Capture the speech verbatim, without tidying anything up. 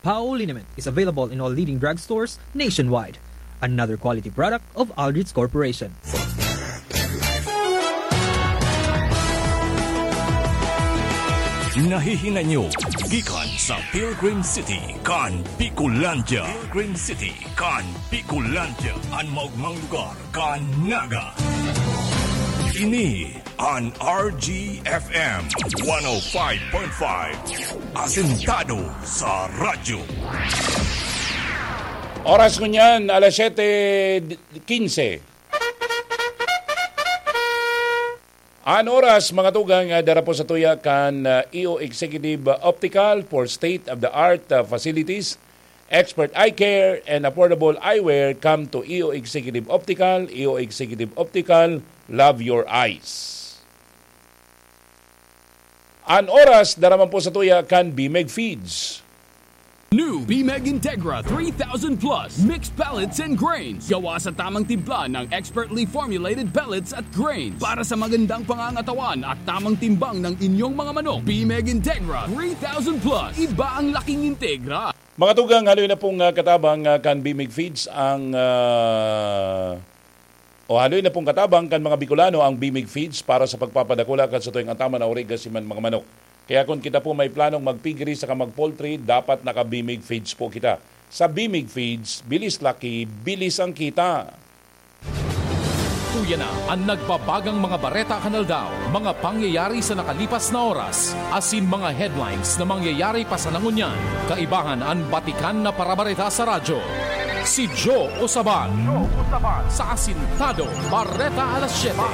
Pao liniment is available in all leading drugstores nationwide. Another quality product of Aldrich Corporation. Nahihinay nyo gikan sa Pilgrim City kan Bicolandia. Pilgrim City kan Bicolandia, an maogmang lugar kan Naga. Ini an R G F M one oh five point five, asentado sa radyo. Oras ngunyan, alas siyete quince. An oras, mga tugang, ah, dara po sa tuya kan, ah, E O Executive, ah, Optical for state-of-the-art, ah, facilities, expert eye care, and affordable eyewear. Come to E O Executive Optical. E O Executive Optical, love your eyes. An oras, dara man po sa tuya kan Bimeg Feeds. New Bimeg Integra three thousand Plus Mixed Pellets and Grains. Gawa sa tamang timpla ng expertly formulated pellets at grains para sa magandang pangangatawan at tamang timbang ng inyong mga manok. Bimeg Integra three thousand Plus. Iba ang laking Integra. Mga tugang, haloy na pong, ah, katabang, ah, kan Bimeg Feeds ang, ah, o haloy na pong katabang kan mga Bicolano ang Bimeg Feeds para sa pagpapadakula kan satuyang ataman na origa siman mga manok. Kaya kun kita po may planong magpiggery saka mag-poultry, dapat naka-Bimeg Feeds po kita. Sa Bimeg Feeds, bilis laki, bilis ang kita. Uya na an nagbabagang mga bareta kan aldaw, mga pangyayari sa nakalipas na oras, asin mga headlines na mangyayari pa sana ngunyan. Kaibahan an batikan na parabareta sa radyo. Si Joe Osaban. Sa Asintado, Bareta Alas Siyete.